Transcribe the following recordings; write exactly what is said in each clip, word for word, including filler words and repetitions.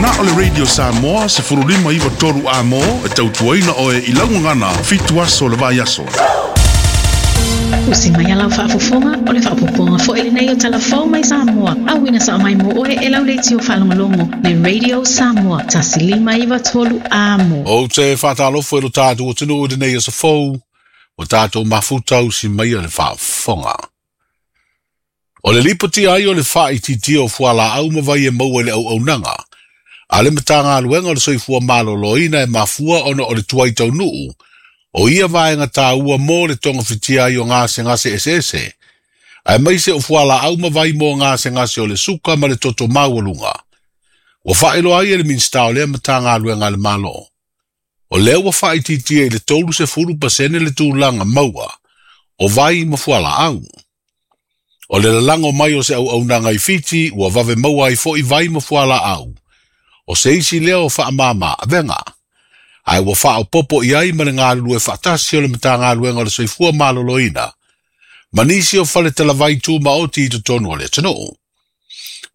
Na o le Radio Samoa sefulu lima iwa tolu a mo e tautuaina oe i laugagana fitu aso le vai aso. Usi mai alau faafofoga o le faapopoga foi lenei o talafou mai Samoa. Auina sa mai mo oe e lau leitio faalogologo le Radio Samoa tasi lima iwa tolu a mo. O te whaatalofo e lo tātou o tunu o tenei aso fou, o tātou mafuta usi mai o le faafofoga. O le lipoti ai o le whaititia o fuala au mawai e maua le au aunaga. A le matanga aluenga o le soifua maloloina e mafua ona o le tuai taunuu. O ia vaenga tāua mō le tonga fitia ai o ngā se ese ese. Ae maise o fuala au mawai mō ngā se o le suka ma le toto maualunga. Ua whaelo ai e le minsta o lea matanga aluenga le malo. O lea ua whaititia i le tolu se furu pasene le tūlanga maua. O vai ma fuala au. O le lalango mai o se au aunanga i Fiti, ua vave maua ai foi vai ma fuala au. O se isi lea o whaamama avenga. Ai ua whaopopo i ai ma le ngā lue whaatasi o le matanga aluenga o le soifua maloloina. Manisi o whale talavai tū maoti i totonu o le atunuu.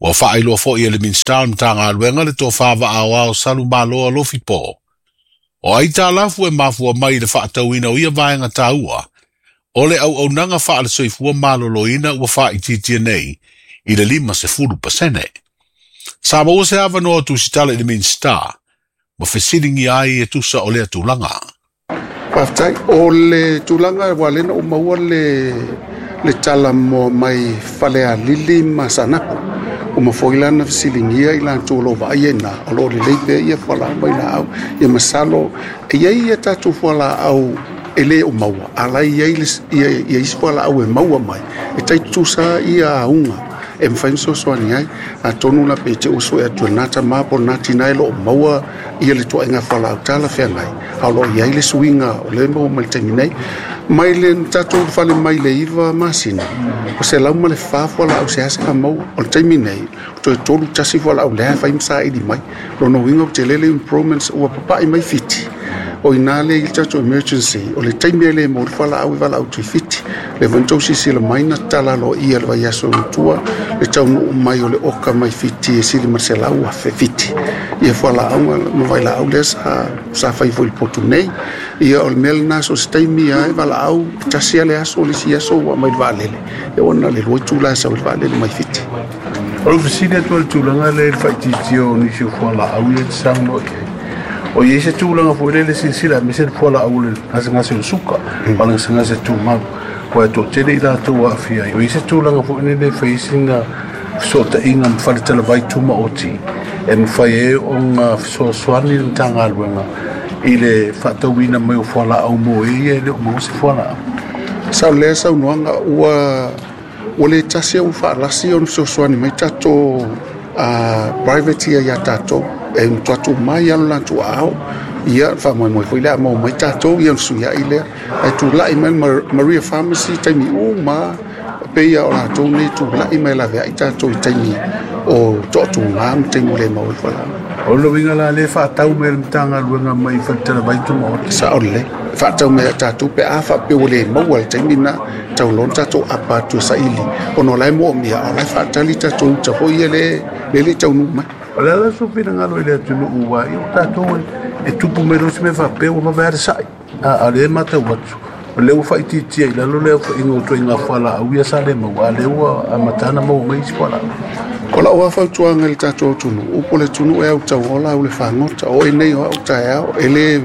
Ua whaailoa foi e le minsta o le matanga aluenga le tō whawa ao ao salu maloa lofi pō. O ai tālafu e mafua mai le whaatauina o ia vaenga tāua. O le au aunaga wha le soifua maloloina ua whaititia nei i le lima se fulu pasene. Sa maua se awanoa tusitala i le minsta, ma fesilingi ai e tusa o lea tulaga. Whaftai, o le tulaga wa lena o maua le, le tala mo mai whale a lili ma sanapu. O mafoilana fesilingia i lantou lo vaai e nā, o lo le leipe ia fuala mai la au, ia masalo, ia ia tātou fuala au e le o maua, ala ia ia isi fuala au e maua mai, e tai tusa ia aunga, e mwhai msosoani ai, a tonu la pe te uso e atu nata mapo nati nai lo o maua ia le tua inga fuala au tala whea ngai, au lo ia ile suinga o le maua mai le taimi nei, mai le tātou whale mai le iwa masina, o se lau ma le wha fuala au se hase ka maua, o le taimi nei, o toe tolu tasi fuala au lea whai msa ili mai, lono winga o te lele improvements ua papai mai Fiti. O ina le i tātou emergency, o le taimi e le mo le whala au i whala au tui Fiti. Le vantau sisi le maina tala lo ia le vai aso tua, le tau nuu mai o le oka mai Fiti e sili marse lau a fe Fiti. Ia whala au ma vai la au lea sa, sa whai foi potu nei. Ia o le mele naso se taimi ai whala au, tasi ale aso le si aso ua mai le waalele. E ona le lua tūla sa o le waalele mai Fiti. O le fisili atu le tūlanga le whaititia o nisi o fuala au ia te saunoa i ai. O ia se tūlanga foi le silasila me se fuala au le gasegase o suka, o le gasegase tumau. Ua e toatele i latou aafia ai. O ia se tūlanga foi le feisiga fesootaiga ma faletalavai tumaoti e mafai ai ona fesoasoani le Matagaluega i le faatauina mai o fualaau mo e ia e le o maua se fualaau. Sa o lea saunoaga ua ua le tasi au faalasi ona fesoasoani mai tatou private ia ia tatou. E mtuatu mai alo lantu ao ia whamoe foi lea mau mai tātou ia suia i lea e tūlai mai Maria Pharmacy taimi uma pe ia o lātou nei tūlai mai la vea i tātou i taimi o toatu ngā ma taimi le mau i whala. O le winga la le whaatau me le matanga luenga mai whaletala vai tumaoti. Sa o le whaatau me tātou pe a whape o le maua le taimi na tau lon tātou apa atu sa ili ono lai mo mia o lai whaatali tātou ta hoi e le le le tau nu mai. O le ala sofina ngalo i le atunu ua i o tātou e tupu mai rosi me whapea ua mawea sai. A, a le matau atu. O le ua whaititia i lalo lea wha ingo toi ngā whala au ia sa le maua. A le ua a matana maua mai isi whala. O lau whautuanga le tātou tunu. Upo le tunu e au tau ola au le whangota. O e nei o au tae au. E le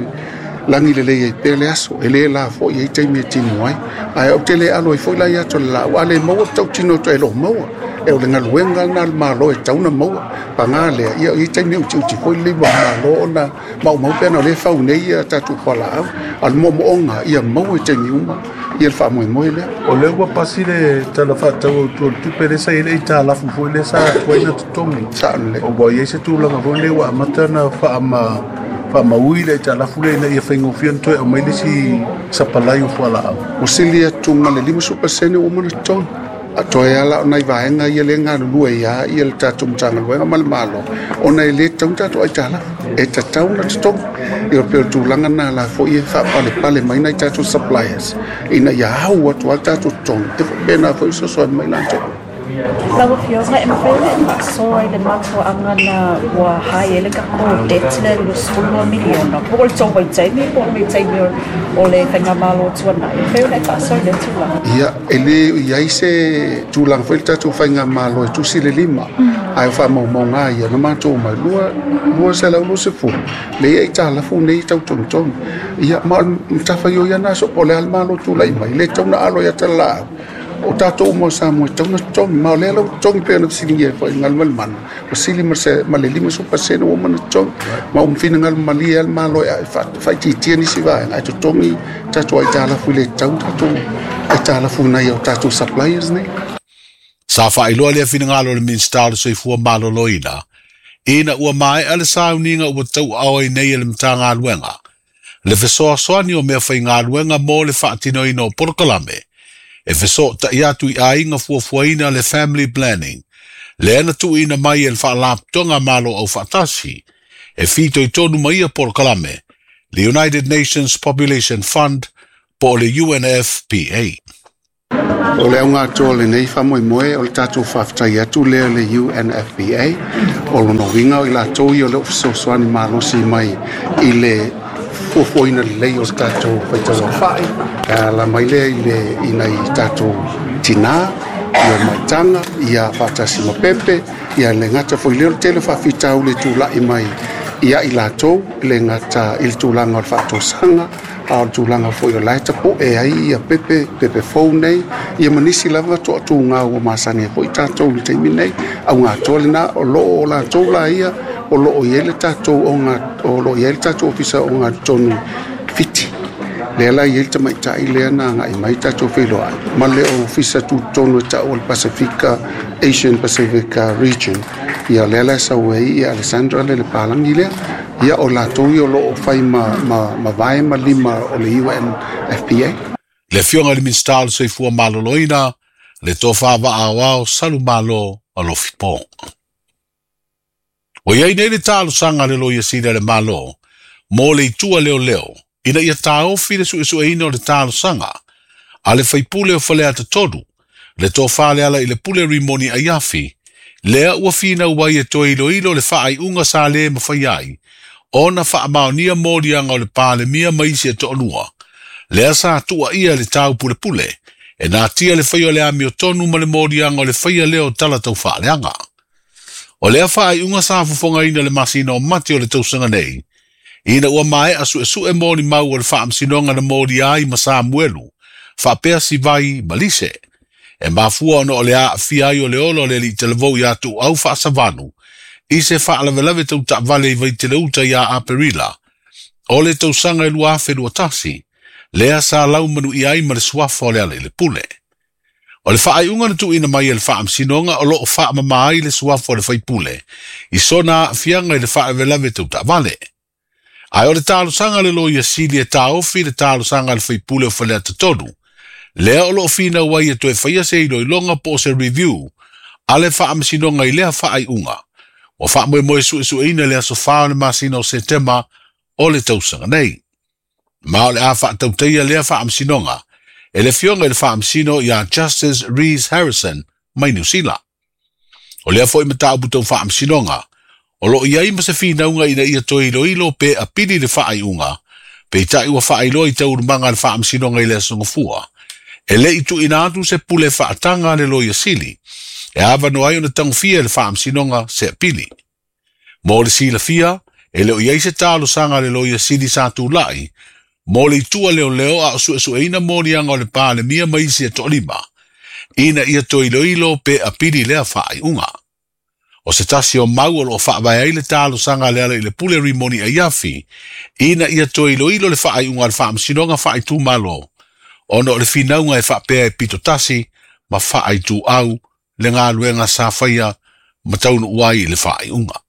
langi le lei e pele aso. E le la fo i e taimi e timu ai. Ai au te le alo i foi lai ato le lau. A le maua tau tino to e lo maua. E o le ngaluenga nā le malo e tauna maua. Pangā lea, ia i taimi uti uti foi le wa malo ona mau mau pena o le whau nei ia tātou whala au. A le momoonga ia maua e taimi uma. Ia le whaamoemoe lea. O le ua pasi le tala whaatau au tua tupe le sa i le i tā lafu foi le sa tuaina totongi. Sa le. O wa ia se tūlanga foi le ua amata na whaama whaamaui le i tā lafu le ina ia whaingofia na toe au mai le si sapalai o fuala au. O sili atu ma le lima supasene o mana totongi. A toe ala o nai vaenga ia le ngā lulua ia ia le tātou matanga luenga ma le malo. O nai le taun tātou ai tā lafu. E tatau na totongi. Ia peo tūlanga nā la fo ia whaapale pale mai nai tātou suppliers. Ina ia hau atu al tātou totongi. Te whapena fo iso soa mai lantou. Lau afioga e mafai ona e faasoa i le mafuaaga na ua hai ai le tatou debt lea i le sefulu lua miliona po o le tou vaitaimi po o le vaitaimi o le faigamalo tuanai. E mafai ona e faasoa i lea tulaga? Ia, e lē i ai se tulaga foi le tatou faigamalo e tusi le lima, ae o faamaumauga ia na matou mai lua lua selau lua sefulu le ia i talafu nei tau togitogi. Ia ma o le matafaioi ana aso po o le a le malo tulai mai le tau na alo ia talalaau o tatou uma o Samoa e tau na totogi, ma o lea lau totogi pei ona fesiligia ai foi i Galumalemana ua sili ma se ma le lima pasene ua uma ona totogi, ma ua finagalo malie lava le Malo e faaitiitia nisi vaega ae totogi tatou aitalafu i le tatau tatou aitalafu nai o tatou suppliers nei. Sa faailoa lea finagalo o le Minisita o le Soifua Maloloina ina ua maea le sauniga ua tauaao ai nei e le Matagaluega le fesoasoani o mea faigaluega mo le faatinoina o polokalame e fesootai atu i aiga fuafuaina le family planning lea na tuuina mai e le Faalapotopotoga Malo Aufaatasi e fitoitonu ma ia polokalame, le United Nations Population Fund po o le U N F P A. O le auga atoa lenei faamoemoe o le tatou faafetai atu lea le U N F P A o lona uiga o i latou ia o loo fesoasoani malosi mai i le fuafuaina lelei o le tatou faitauaofai e ala mai lea i le i nai tatou tinā ia maitaga ia faatasi ma pepe ia le gata foi lea o le tele faafitauli e tula'i mai ia i latou le gata i le tulaga o le faatosaga a o le tulaga foi o lae tapu'e ai ia pepe pepe fou nei ia ma nisi lava toatuga ua masani ai foi tatou i le taimi nei. Auga atoa lena o loo o latou laia o loo i ai le tatou oga o loo i ai le tatou ofisa o ogatotonu Fiti lea la i ai le tamaitai lea na agai mai tatou feiloai ma le ofisa tutotonu e ta'u o le Pasifika Asian Pacific Region ia lea la e sau ai ia Alessandra le le palagi lea ia o latou ia o loo fai ma, ma, ma vae ma lima o le U N F P A. Le afioga i le Minisita o le Soifua Maloloina le tofa vaaoao Salumalo Alofipo. O iai nei le talosaga a le Loia Sili a le Malo mo le itua leoleo ina ia taofi le suesueina o le talosaga a le faipule o Faleata Tolu le tofa le ala i le pule Rimoni Aiafi lea ua finau ai e toe iloilo le faaiuga sa lē mafai ai ona faamaonia moliaga o le Palemia ma isi e toalua lea sa tuuaia le taupulepule e natia le faia o le amiotonu ma le moliaga o le faia lea o tala taufaaleaga. O lea faaiuga sa fofogaina le masina o Mati o le tausaga nei ina ua maea suesue molimau o le faamasinoga na molia ai ma Samuelu faapea Sivai ma Lise e mafua ona o le aafia ai o le olo o le alii talavou ia Tuuau Faasavanu i se faalavelave tautaavale i Vaiteleuta ia Aperila o le tausaga e lua afe lua tasi lea sa laumanuia ai ma le suafa o le ala i le pule. O le faaiuga na tuuina mai e le faamasinoga o loo faamama ai le suafa o le faipule i sona aafiaga i le faalavelave tautaavale. Ae o le talosaga le Loia Sili e taofi le talosaga a le faipule o Faleata Tolu lea o loo finau ai e toe faia se iloiloga po o se review a le faamasinoga i lea faaiuga ua faamoemoe suesueina le aso fa o le masina o Setema o le tausaga nei. Ma o le a faatautaia lea faamasinoga e le afioga i le faamasino ia Justice Rees Harrison mai Niu Sila. O lea foi mataupu tau faamasinoga o loo i ai ma se finauga ina ia toe iloilo pe apili le faaiuga peitai ua faailoa i taualumaga a le faamasinoga i le aso Gafua e le i tuuina atu se pule faataga a le Loia Sili e avanoa ai ona tagofia e le faamasinoga se apili. Mo le silafia e le o i ai se talosaga a le Loia Sili sa tula'i mo le itua leoleo a o suesueina moliaga o le Palemia ma isi e toalima ina ia toe iloilo pe apili lea faaiuga. O se tasi o mau o loo faavae ai le talosaga a le ala i le pule Rimoni Aiafi ina ia toe iloilo le faaiuga a le faamasinoga faaitumalo ona o le finauga e faapea e pito tasi ma faaituau le galuega sa faia ma taunuu ai i le faaiuga.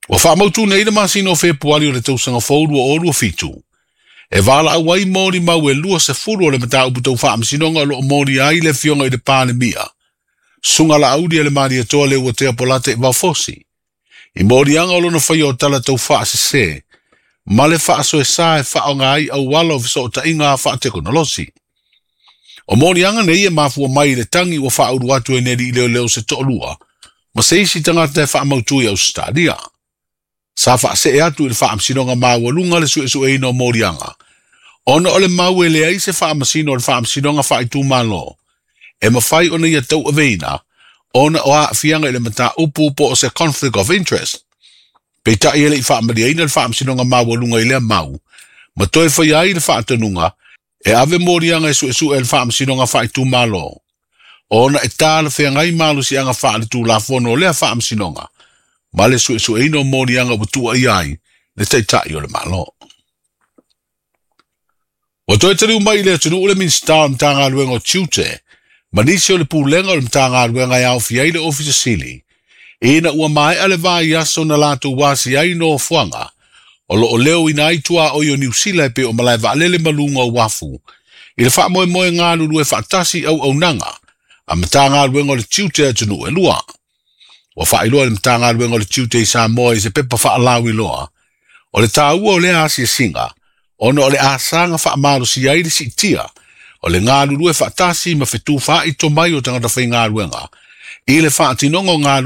Ua faamautu nei le masina o Fepuari o le tausaga fou lua o lua fitu e valaau ai molimau e lua sefulu o le mataupu tau faamasinoga o loo molia ai le afioga i le Palemia Suga Laauli e le Malietoa le Uatea Polata i Vaofosi i moliaga o lona faia o tala tau faasese ma le faasoesa e faaoga ai auala o fesootaiga faatekonolosi. O moliaga nei e mafua mai i le tagi ua faaulu atu e nei alii leoleo se toalua ma se isi tagata e faamautu i Ausetalia. Sa faasee atu i le Faamasinoga Maualuga le suesueina o moliaga, ona o le mau e leai se faamasino o le Faamasinoga Faaitumalo e mafai ona ia tauaveina ona o aafiaga i le mataupu po o se conflict of interest. Peitai e le i faamaliaina le Faamasinoga Maualuga i lea mau, ma toe faia ai le faatonuga e ave moliaga e suesue e le Faamasinoga Faaitumalo, ona e talafeagai malosiaga faaletulafono o lea faamasinoga ma le suesueina o moliaga ua tuuaia ai le Taitai o le Malo. Ua toe taliu mai i le atunuu le Minisita o le Matagaluega o Tiute ma nisi o le Pulega o le Matagaluega e aofia ai le Ofisa Sili, ina ua maea le vaiaso na latou asia ai nofoaga o loo leoina ai tuaoi o Niu Sila e pei o malae vaalele ma luga o uafu i le faamoemoe galulue faatasi auaunaga a Matagaluega o le Tiute atunuu e lua. Ua faailoa le Matagaluega o le Tiute i Samoa i se pepa faalauiloa o le taua o lea asiasiga ona o le asaga faamalosia ai le siitia o le galulue faatasi ma fetufaai tomai o tagata faigaluega i le faatinoga o galuega.